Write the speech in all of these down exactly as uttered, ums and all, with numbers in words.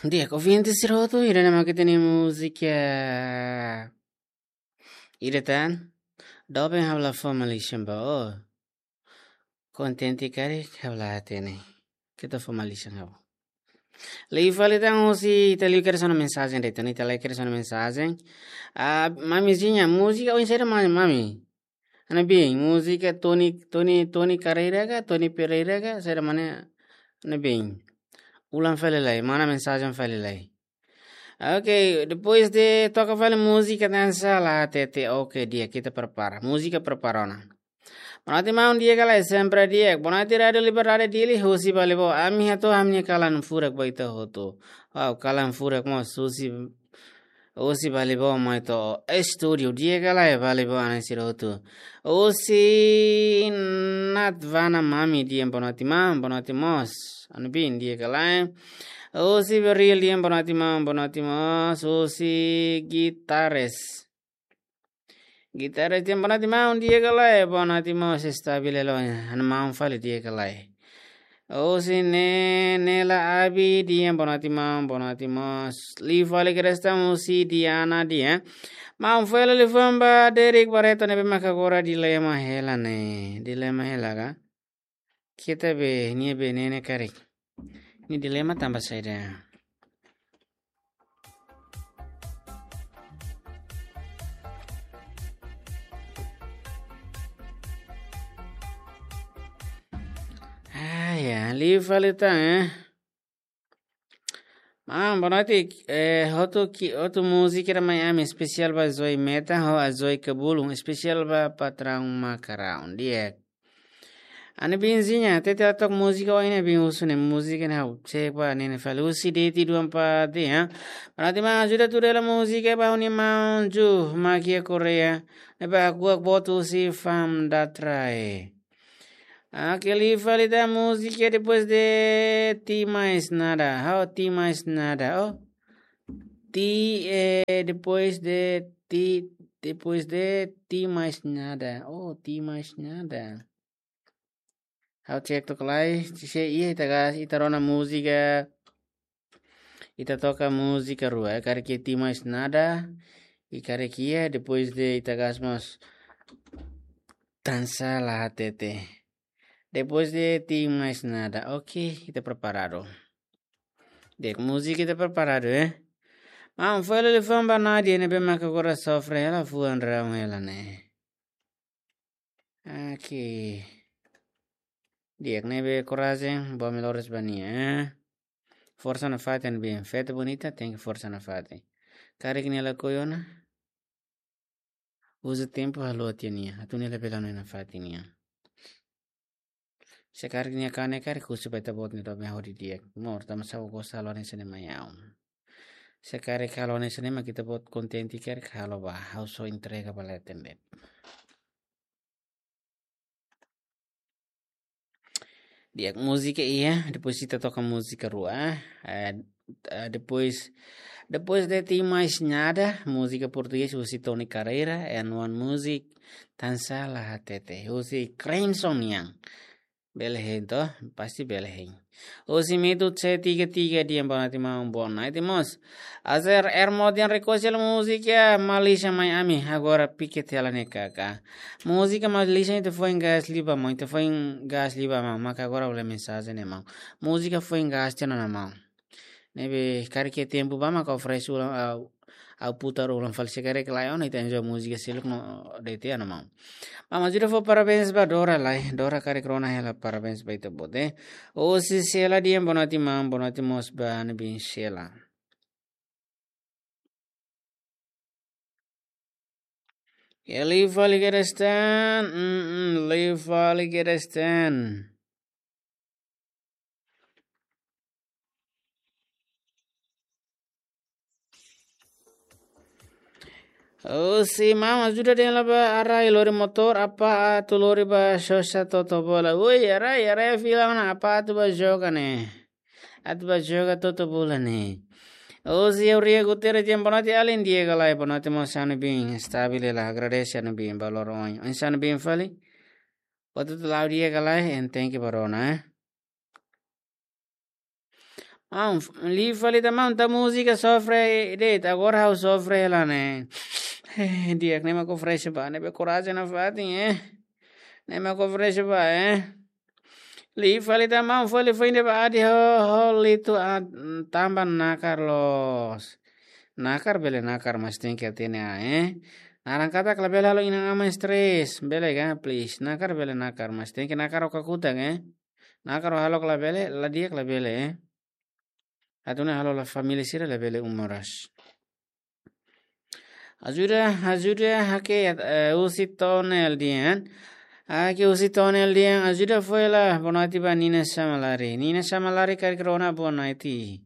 Di'ak, ouvinte sira hotu, ida-ne'e mak ita-nia múzika ida tan. Doben ha'u la fó malisan ba ó. Kontente karik ha'u la hatene. Keta fó malisan ha'u. Liu fali tan, husi ita liu kedas ona mensajen de'it, ita liu kedas ona mensajen. Ah, mamizinha, múzika oinsá mak mami? Hanoin, múzika Tony, Tony, Tony Carreira ka, Tony Pereira ka, saida mak ne'e, hanoin. Ulang fali lai, mana mensajen fali lai. Ok, depois de toka fali múzika Dansa La Hatete, ok, di'ak, ita prepara. Múzika prepara ona. Boa noite, maun, di'ak ka lae, sempre di'ak. Boa noite, Rádio Liberdade Dili, husi Balibo. Ami hato'o ami-nia kalan furak ba ita hotu. Wow, kalan furak mós, husi, husi Balibo mai to'o estúdiu, di'ak ka lae, Balibo, ana sira hotu. Husi Natvana Mami, di'ak, boa noite, maun, boa noite mós. Hanoin, di'ak ka lae. Husi Beril, di'ak, boa noite, maun, boa noite mós. Husi Guitarres. Guitarres, di'ak, boa noite, maun, di'ak ka lae, boa noite mós, estabil hela, hanoin, maun fali, di'ak ka lae. Husi Ne-, Nela Abi, di'ak, boa noite, maun, boa noite mós. Liu fali kedas tan husi Diana, di'ak. Maun, fali liafuan ba Derek Barreto ne'ebé maka agora dilema hela ne'e. Dilema hela ka? Keta be, nia be ne'e ne'e karik. Nia dilema tanba saida? Ah, ya, liu fali tan, eh. Maun, boa noite. Eh, hotu ki, hotu múzika ida mai ami, espesiál ba Zoe Meta, ho Zoe Kabulun, espesiál ba patraun Makarau, di'ak. Hanoin, Binzinha, tete atok múzika ohin ne'e, bin husu ne'e múzika ne'e ha'u cek ba ne'e ne'e fali. Husi Deti dua empat, ya. Boa noite, maun, ajuda tuda hela múzika ba ha'u-nia maun Ju, Makia Korea. Ne'ebé aku ak botu husi Fam Datrae. Ah, ok, liu fali tan múzika depois de Ti Mais Nada. Oh, Ti Mais Nada. Oh. Ti, eh, depois de Ti, depois de Ti Mais Nada. Oh, Ti Mais Nada. Ha'u cek took lai, se iha ita gas, ita rona múzika. Ita toka múzika rua, eh, karik iha Ti Mais Nada, i karik iha, depois de ita gas mós Dansa La Hatete. Depois de Ti Mais Nada. Ok, ita preparadu. Di'ak, múzika ita preparadu, eh. Maun, fó liafuan ba Nadia ne'ebé maka agora sofre hela fuan raun hela ne'e. Ok. Di'ak, ne'ebé korajen, boa melhoras ba nia, eh. Forsa nafatin, bem, festa bonita, tenke forsa nafatin. Karik nia lakohi ona, uza tempu halo tiha nia, atu nia labele hanoin nafatin nian. Se karik nia kanek karik husu ba ita-boot nia doben hodi di'ak. Mós, tanba sá ó gosta halo hanesan ne'e mai ha'u. Se karik halo hanesan ne'e mak ita-boot kontente karik halo ba, ha'u só entrega ba leten de'it. Di'ak, múzika iha, depois ita toka múzika rua, eh, eh, depois, depois de Ti Mais Nada, múzika portugés, husi Tony Carreira, and one music, Dansa La Hatete, husi Crimson nian. Bele hein to, pasti bele hein. Husi Mitu C tiga tiga, di'ak, boa noite maun, boa noite mós. Azer Ermo di'ak, rekosil múzika Malisan mai ami, agora piket hela ne'e kaka. Múzika Malisan ita foin gas liu ba maun, ita foin gas liu ba maun, maka agora ha'u lee mensajen ne'e maun. Múzika foin gas tiha ona maun. Ne'ebé karik iha tempu ba maka oferese ulang, ah, ha'u putar ulang fali, se karik lae ona ita enjoy múzika seluk no de'it ona maun. Maun, ajuda fó parabéns ba Dora lai. Dora karik rona hela, parabéns ba ita-boot, eh. Husi Sela di'ak, boa noite maun, boa noite mós ba ha'u-nia bin Sela. Ya, liu fali kedas tan, mm, mm, liu fali kedas tan. Oh, si mama sudah dia laba arai lori motor, apa atu lori ba sosa toto bola. Woi, arai, arai fila ona, apa atu ba joga ne'e. Atu ba joga toto bola ne'e. Oh, si Auria Guterres di'ak, boa noite, alin di'ak ka lae, boa noite mós, ha'u-nia bin stabil hela, agradese ha'u-nia bin ba loron ohin. Oinsá ha'u-nia bin fali? Atu tu lau di'ak ka lae, and thank you ba rona, eh. Maun, liu fali tan maun, tau múzika sofre de'it, agora ha'u sofre hela ne'e. Eh, di'ak, ne'e mak oferese ba ne'ebé korajen nafatin, eh. Ne'e mak oferese ba, eh. Liu fali tan maun, fali foin de'it ba adi ho, ho litu a, tanba nakar loos. Nakar bele nakar, mas tenke hatene an, eh. Naran katak labele halo inan-aman stress, bele ka, please. Nakar bele nakar, mas tenke nakar ho kakutak, eh. Nakar ho hahalok labele, la di'ak labele, eh. Atu nune'e halo la família sira labele um moras. Ajuda, ajuda, hake, eh, husi Tonel dehan. Hake husi Tonel dehan, ajuda fo'er la, boa noite ba Nina Samalari. Nina Samalari karik rona boa noite.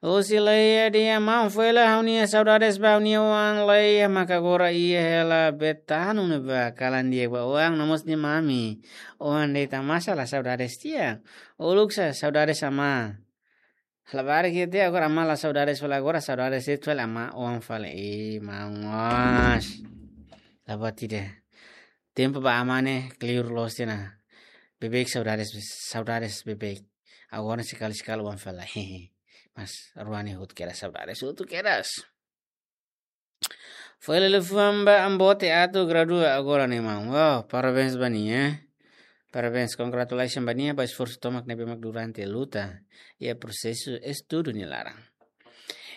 Husi Leia dehan, maun fo'er la, ha'u-nia saudades ba ha'u-nia oan Leia, maka agora iha hela Betano ne'ebá, kalan di'ak ba oan, no mós nia mami. Oan de'it, maibé la saudades tiha. Uluk sa saudades amá. Labarik iha tiha, agora amá la saudades fali, agora saudades de'it fali amá oan fali. Ih, maun mós. La buat ida. Tempu ba amá ne'e kleur loos tiha ona. Beibeik saudades, saudades beibeik. Agora sekali-sekali oan fali. Mas rua ne'e hotu kedas saudades, hotu kedas. Foin liafuan ba Ambote atu gradua agora ne'e maun. Wow, parabéns ba nia, eh. Parabéns, congratulations ba nia, ba esforsu tomak ne'ebé mak durante luta iha prosesu estudu nia laran.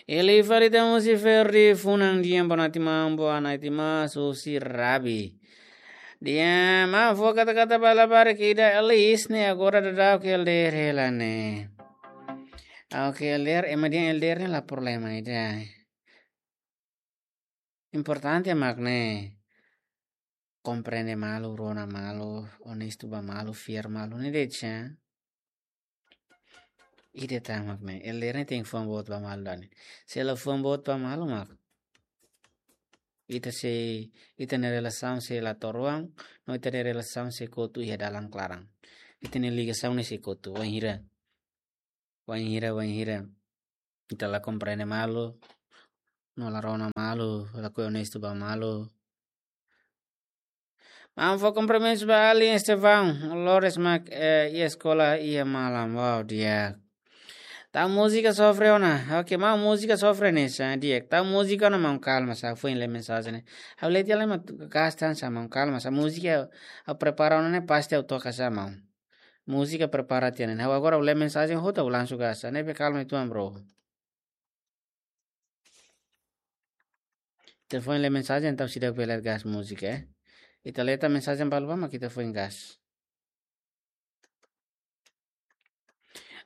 Liu fali tan husi Ferdi Funan dehan boa noite maun, boa noite mós husi Rabi. Dehan maun fó kata-kata ba labarik ida Elis ne'e agora daudaun ke L D R hela ne'e. Oke, L D R, ema dehan L D R ne'e la problema ida. Importante mak ne'e komprende malu, rona malu, onestu ba malu, fiar malu, ne'e de'it sa. Ida tan mak ne'e, L D R ne'e tenke fuan boot ba malu duni. Se la fuan boot ba malu mak ita sei, ita-nia relasaun sei la to'o ruang, no ita-nia relasaun sei kotu iha dalan klaran. Ita-nia ligasaun ne'e sei kotu, wainhira, wainhira, wainhira ita la komprende malu, no la rona malu, lakohi onestu ba malu. Maun fó kumprimentus ba alin Estevão, loron ne'e mak, eh, iha eskola iha malam, wow, di'ak. Tau múzika sofre ona, oke, maun múzika sofre ne'e sa, di'ak. Tau múzika ona maun kalma sa, foin lee mensajen ne'e. Ha'u lee tiha lai mak gas tan sa maun kalma sa, múzika ha'u prepara ona ne'e pasti ha'u toka sa maun. Múzika prepara tiha ona. Ha'u agora ha'u lee mensajen hotu ha'u langsung gas. Ne'ebé kalma uitoan, bro. Ita foin lee mensajen entaun seidauk bele gas múzika, eh. Ita lee tan mensajen balu ba mak ita foin gas.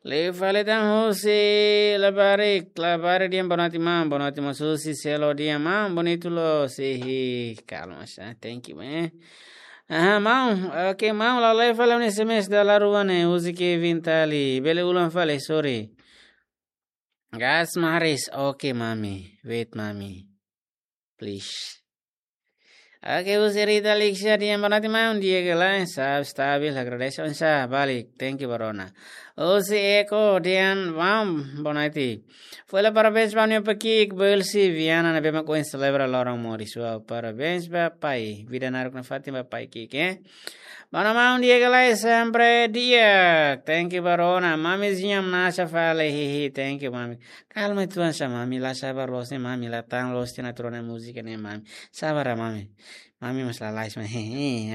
Liu fali tan husi labarik, labarik dehan boa noite maun, boa noite mós husi Selo dehan maun, bonitu loos, ih, kalma sa, thank you, eh. Aha, maun, oke, maun, la lee fali ha'u-nia S M S dala rua ne'e, husi Kevin Tali. Bele ulang fali, sorry. Gas maris, oke, mami. Wait, mami. Please. Oke, husi Rita Lixia dehan boa noite maun, di'ak ka lae, sa stabil, agradese oinsá, balik, thank you ba rona. Husi Eko dehan maun, boa noite. Foin la parabéns ba ha'u-nia pai ki'ik, Belsi Viana, ne'ebé mak ohin selebra loron moris. Wow, parabéns ba pai. Vida naruk nafatin ba pai ki'ik, eh. Ba rona maun, di'ak ka lae, sempre di'ak. Thank you ba rona. Mamizinha manasa fali, hihi, thank you, mami. Kalma uitoan sa, mami, la sabar loos ne'e, mami, la tan loos tiha ona atu rona múzika ne'e, mami. Sabar, mami. Mami mós lalais, mami.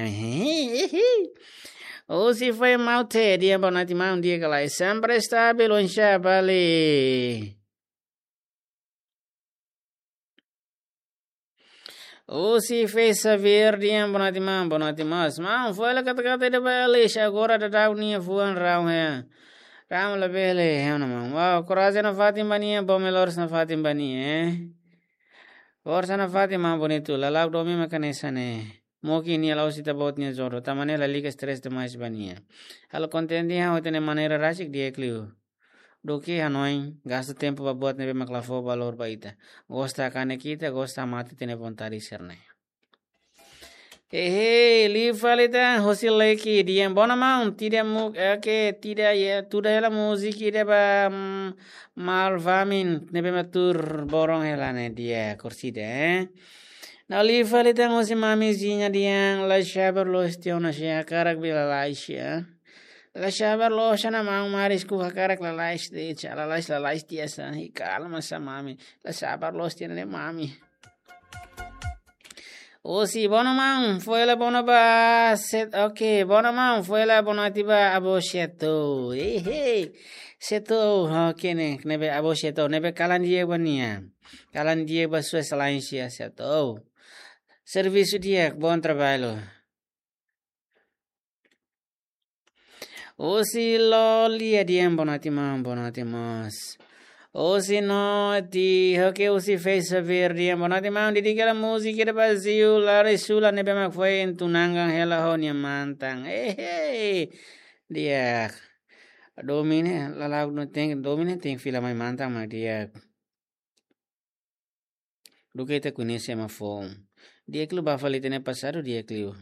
Husi Fai Maute dehan boa noite maun, di'ak ka lae, sempre stabil, oinsá, balik. Husi Fei Xavier dehan boa noite maun, boa noite mós. Maun, foin la kata-kata ida ba Elis, agora daudaun nia fuan raun, eh. Raun labele, eh, ona maun. Wow, korajen nafatin ba nia, bom melhores nafatin ba nia, eh. Forsa nafatin maun bonitu, lala'ok domin mak hanesan ne'e. Mungkin nia la'ós ita-boot nia jodoh, tanba ne'e lalika stress demais ba nia. Halo kontente ha'u, ita-nia maneira rasik di'ak liu. Duké hanoin, gasta tempu ba buat ne'ebé mak la fó valór ba ita. Gosta kanek ita, gosta mate ita-nia vontade sira-ne'e. Hehe, liu fali tan, husi Leki dehan boa noite maun, ida mu, eh, ke, ida, ya, tuda hela múzika ida ba, mm, Malvamin, ne'ebé mak tuur boron hela ne'e, di'ak, korsida, eh. No liu fali tan husi Mamizinha dehan la sabar loos tiha ona, se hakarak bele lalais, eh. La sabar loos ona maun, marisku hakarak lalais de'it, lalais, lalais tiha sa, i kalma sa mami. La sabar loos tiha ona ne'e mami. Osi, bono maun, foin hela bono ba, set, oke, bono maun, foin hela bonoite ba avó Seto. Hehe. Seto, oke ne'e, ne'ebé avó Seto, ne'ebé kalan di'ak ba nia. Kalan di'ak ba Sua Exelénsia Seto. Servisu di'ak, bom trabalho. Osi Lolia dehan bonoite maun, bonoite mós. Osi Noti, oke, Osi Fei Xavier dehan bonoite maun, dedika hela múzika ida ba Ziu Lari Sula ne'ebé mak foin tunangan hela ho nia mantan. Hehe. Di'ak. Domin ne'e, lala'ok no tem, domin ne'e tem fila mai mantan mak di'ak. Duké ita koñese ema foun. Di'ak liu ba fali ita-nia pasadu, di'ak liu.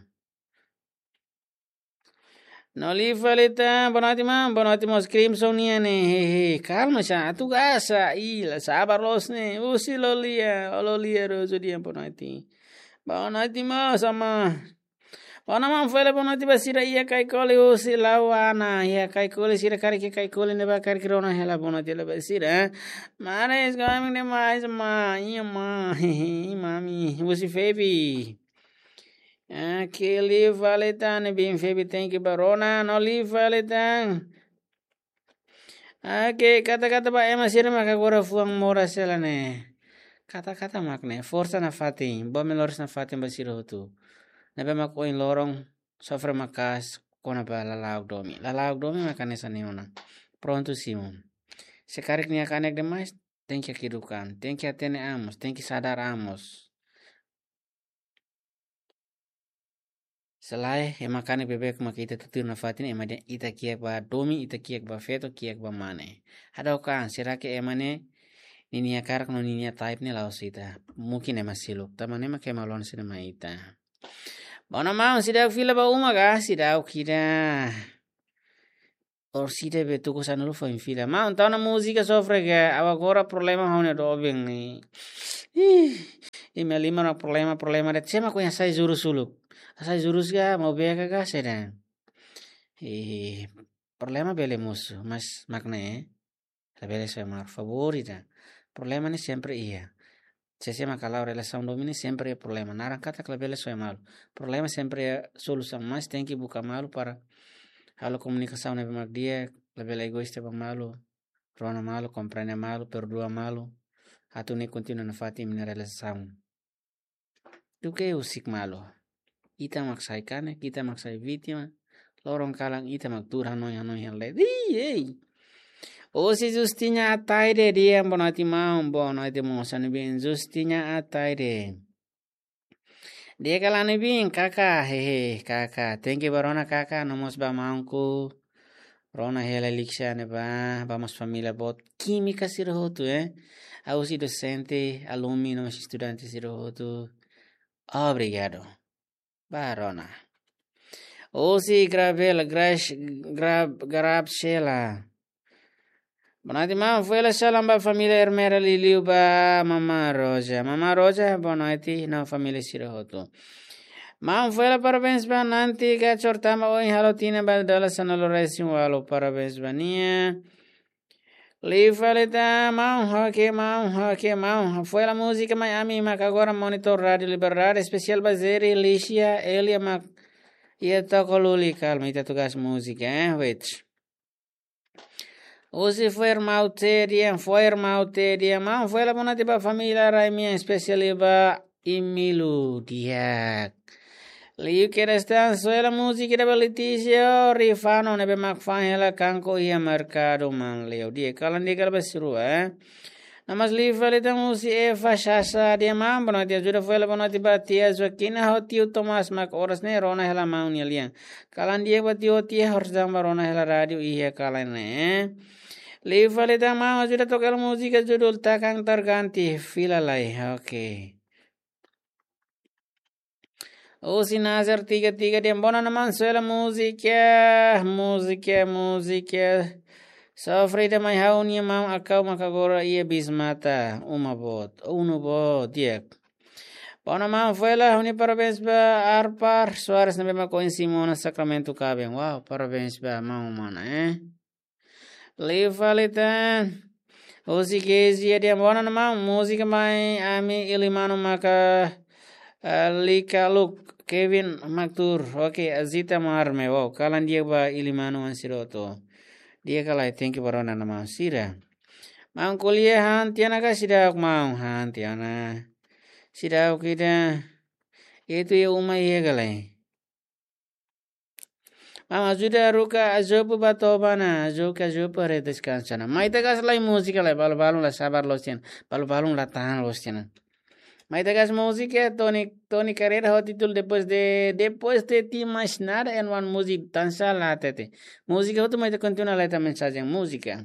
No liu fali tan, bonoite maun, bonoite mós Crimson nian ne'e, hehe, kalma sa, atu gasa, i la sabar loos ne'e, Osi Lolia, Lolia Rojo dehan bonoite. Bonoite mós, amá. Ona maun, foin hela bonoite ba sira iha Kaikoli, Osi Lauana, iha Kaikoli sira karik iha Kaikoli ne'ebá karik rona hela bonoite hela ba sira. Maris, gosta demais, ma, iha ma, mami, Osi Febi. Ah, ke liu fali tan, bin Febi, thank you ba rona, no liu fali tan. Oke, kata-kata ba ema sira mak agora fuan moras hela ne'e. Kata-kata mak ne'e, forsa nafatin, bom melhores nafatin ba sira hotu. Ne'ebé mak ohin loron, sofre maka'as, kona-ba lala'ok domin. Lala'ok domin mak hanesan ne'e ona. Prontu simu. Se karik nia kanek demais, tenke eduka an, tenke hatene an mós, tenke sadar an mós. Se lae, ema kanek beibeik mak ita tutuir nafatin, ema dehan ita kiak ba domin, ita kiak ba feto, kiak ba mane. Hadook an, será que ema ne'e, ninia karak no ninia type ne'e la'ós ita. Mungkin ema seluk. Tanba ne'e mak ema lon sira mai ita. Bono maun, seidauk fila ba uma ka, seidauk ida. Orsida be tuku sanulu foin fila. Maun, tau ona múzika sofre ka, ha'u agora problema ho ha'u-nia doben ne'e. Ih, imi-nia liman problema, problema de'it, sé mak ohin hasai jurus uluk. Hasai jurus ka, maubé ka, ka, saida. Ih, problema bele mosu, mas mak ne'e. Labele soe malu, favór ida. Problema ne'e sempre iha. Sé-sé mak hala'o relasaun domin ne'e sempre iha problema. Naran katak labele soe malu. Problema sempre iha solusaun, mas tenke buka malu para halo komunikasaun ne'ebé mak di'ak, labele egoísta ba malu, rona malu, komprende malu, perdua malu, atu nune'e kontinua nafatin imi-nia relasaun. Duké husik malu. Ita mak sai kanek, ita mak sai vítima. Loron kalan ita mak tuur hanoin-hanoin hela de'it. Ih, ei. Osi Justina Ataide dehan bonoite maun, bonoite mós, ami bin Justina Ataide. Di'ak ka lae ami bin, kaka, hehe, kaka. Tenke ba rona kaka, no mós ba maunku. Rona hela Liksa ne'ebá, ba mós família boot. Kímika sira hotu, eh. Osi dosente, alumni, no mós estudante sira hotu. Obrigadu. Ba rona. Osi Grabela, Grash, Grab, Grab Shela. Bonoite maun, foin hela salam ba família Ermera liuliu ba Mama Roja. Mama Roja, bonoite, no família sira hotu. Maun, foin hela parabéns ba Nanti Gachor tanba ohin halo tinan ba dala sanulu-resin-ualu, parabéns ba nia. Liu fali tan, maun, oke, maun, oke, maun. Foin hela múzika mai ami mak agora monitor Rádiu Liberdade, espesiál ba Zeri, Lícia, Elia mak iha toko luli, kalma, ita tugas múzika, eh, wait. Osi foin irmaun Tedian, foin irmaun Tedian, maun, foin hela bonoite ba família Raimi, espesiál ba Emílio, di'ak. Liu kedas tan, foin hela múzika ida ba Letícia Rifano, ne'ebé mak fa'an hela kanko iha merkadu Manleu. Di'ak, kalan di'ak ka lae ba sira rua, eh. No mós liu fali tan Osi Eva Sasa dehan maun, bonoite ajuda foin hela bonoite ba tia Joaquina ho tiu Tomás mak oras ne'e rona hela maun nia lian. Kalan di'ak ba tiu ho tia, orsida ba rona hela rádiu iha kalan ne'e. Liu fali tan maun, ajuda toka hela múzika judul Takang Terganti, fila lai. Oke. Osi Nazar tiga tiga dehan bonoite maun, foin hela múzika, múzika, múzika. Sofre ida mai ha'u-nia maun Akau mak agora iha Bismata, uma boot, unu boot, di'ak. Bona maun, foin la huni parabéns ba Arpar Soares ne'ebé mak ohin simu ona sakramentu kaben. Wow, parabéns ba maun mana, eh. Liu fali tan. Husi Kezi, dia bona maun, múzika mai ami Ilimanu maka, eh, Lika Luk, Kevin Maktur. Oke, Azita Marme. Wow, kalan di'ak ba Ilimanu ansiro to. Di'ak ka lae, thank you ba rona maun sira. Maun ko'alia han tiha ona ka seidauk maun, han tiha ona. Seidauk ida. Itu iha uma iha ka lae. Maun ajuda haruka Azopu ba toba ona, haruka Azopu haree deskansa ona. Mai tagas lai múzika lai, balu-balun la sabar loos tiha ona, balu-balun la tahan loos tiha ona. Mai tagas múzika, Tony, Tony Carreira ho títulu Depois de, Depois de Ti Mais Nada, é uma música dansa lá, tete. Múzika hotu mai ita kontinua lai ita mensajen múzika.